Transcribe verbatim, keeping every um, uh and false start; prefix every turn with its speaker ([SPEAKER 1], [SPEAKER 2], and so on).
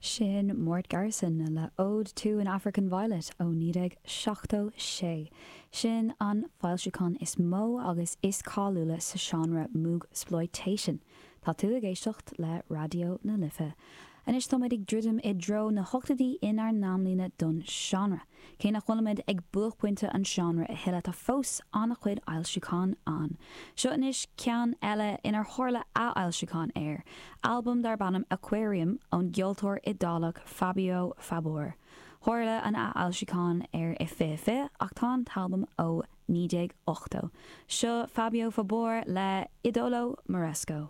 [SPEAKER 1] Sin Mort Garson le Ode to an African Violet ó naoi déag seachtó sé. Sin an foilseachán is mó agus is cáiliúla sa seánra Moogsploitation. Tá tú ag éisteacht le Raidió na Life. Anois táimid ag druidim i dtreo na hochtóidí inár n-amlíne don seánra. Cé nach bhfuilimid ag buaicphointe an seánra a thuilleadh tá fós an-chuid fhoilseachán ann. Seo anois ceann eile inar tharla athfhoilseachán air, albam darb ainm Aquarium ón gceoltóir Iodálach Fabio Fabore. Tharla an athfhoilseachán air i fiche fiche ach tá an t-albam ó naoi déag ochtó. Seo Fabio Fabore le Idolo Moresco.